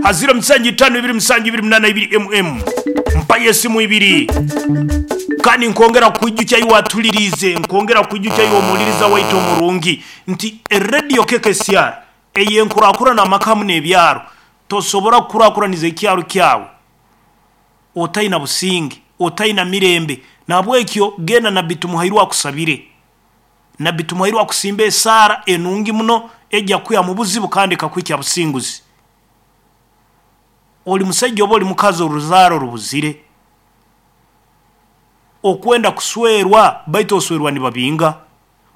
Ha ziro musanju itaano ibiri musanju ibiri munaana ibiri mm. Mpayo esimu ibiri. Kandi nkwongera kukwijukya iwe atuliriize, nkwongera kukwijukya iwe omuwuliriza waitu omurungi nti Radio KKCR ey'enkurakurana amaka hamu n'ebyaro, tosobora kukurakuraniza ekyaro kyawe otaina businge, otaina mirembe. Nahabwekyo genda Nabbi Tumuhairwe akusabire. Nabbi Tumuhairwe akusimbe esaara enungi muno eja kukwiha mu buzibu kandi ekakuhikya businguzi. Oli musaija oba oli mukazi oruzaaro rubuzire. Okwenda kuswerwa baitu oswerwa nibabinga.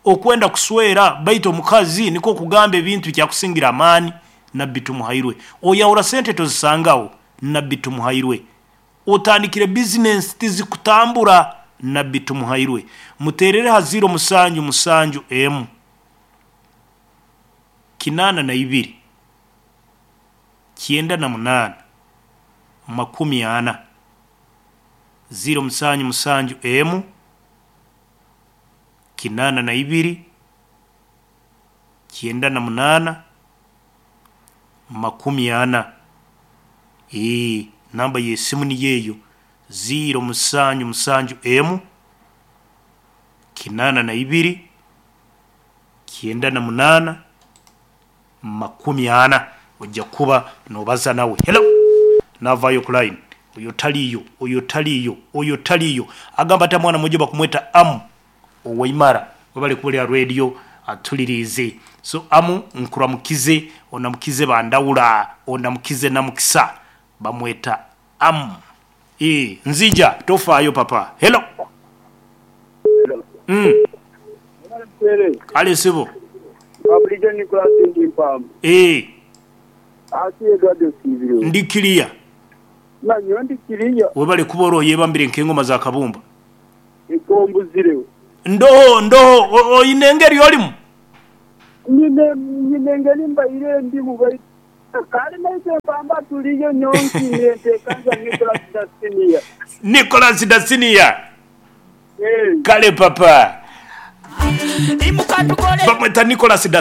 Okwenda kuswera baitu omukazi nikwo kugamba ebintu bikyakusingira amaani. Nabbi Tumuhairwe. Oyahura sente tozisangaho. Nabbi Tumuhairwe. Otandikire bizinensi tizikutambura Nabbi Tumuhairwe. Muteerere ha ziiro musanju musanju emu 82 98 40. Ziiro musanju musanju emu 82 98 40. Eeh, namba y'esimu niyo eyo, ziiro musanju musanju emu, 82, 98, 40. Oija kuba nobaza nawe. Hello! Navaayo ku line. Oyo taliiyo, oyo taliiyo, oyo taliiyo. Agamba ati mwana mwojo bakumweta Amu Owaimara. Webale kuba ori aha radio atuliriize. So Amu nkuramukize, onamukize Bandawula, onamukize Namukisa. Bamweta Amu. Eeh, nzija, tofaayo papa. Hello! Mm. Kale sebo. Bulijo Nicholas ndi Mpamba. Eeh. Asi Edward osiibire. Ndi clear. Na nyowe ndi clear. Webale kuba ori oyebambire nk'engoma za kabumba. Nkombuzireho. Ndoho, ndoho, oine engeri orimu? Nyine, nyine engeri mbaire ndimu baitu kale naitwe Mpamba turiyo nyowe nsiimire ntekanza Nicholas da Senior. Nicholas da Senior. Eeh. Kale papa. Bamweta Nicholas da.